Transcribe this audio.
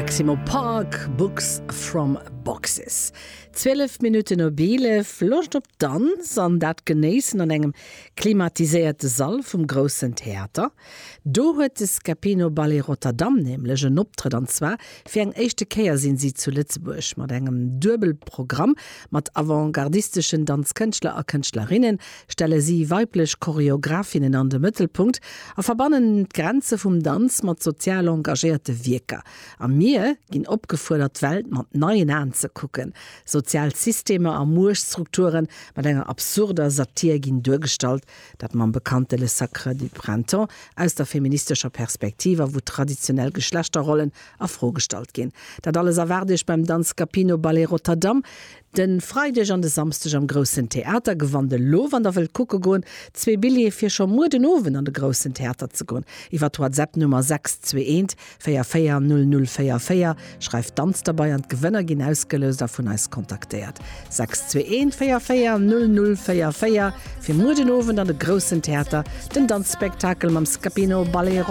Maximo Park, Books from Boxes. 12 Minutten op 11, Loscht op Danz an dat genéissen an engem klimatiséierte Sall vum Groussen Theater? Do huet de Scapino Ballet Rotterdam nämlech en Optrëtt an zwar fir eng éischte Kéier sinn si zu Lëtzebuerg mat engem Duebelprogramm mat avantgardisteschen Danzkënschtler a Kënschtlerinne stelle si weiblech Choreografinnen an de Mëttelpunkt a verbannen d'Grenze vum Danz mat sozial engagéierte Wierker. A mir ginn opgefuerdert d'Welt mat neien Aen ze kucken. Sozial Systemer a Muechtstrukture mat enger absurder Satir ginn duergestallt, dat mam bekannte Le Sacre du Printemps aus der feministescher Perspektiv a wou traditionell Geschlechterrollen a Fro gestallt ginn. Dat alles erwaart Iech beim Danz Scapino Ballet Rotterdam de Freideg an de Samsdeg am Groussen Theater. Gewannt elo, wann der wëllt kucke goen, zwee Billjeeë fir scho muer den Owend an de Groussen Theater ze goen iwwer d'Whatsapp-Nummer 621 44 00 44. Schreift Danz derbei an d'Gewënner ginn ausgeloust a vun eis kontaktéiert. 621 44 00 44 fir muer den Owend an de Groussen Theater, den Danzspektakel mam Scapino Ballet Rotterdam.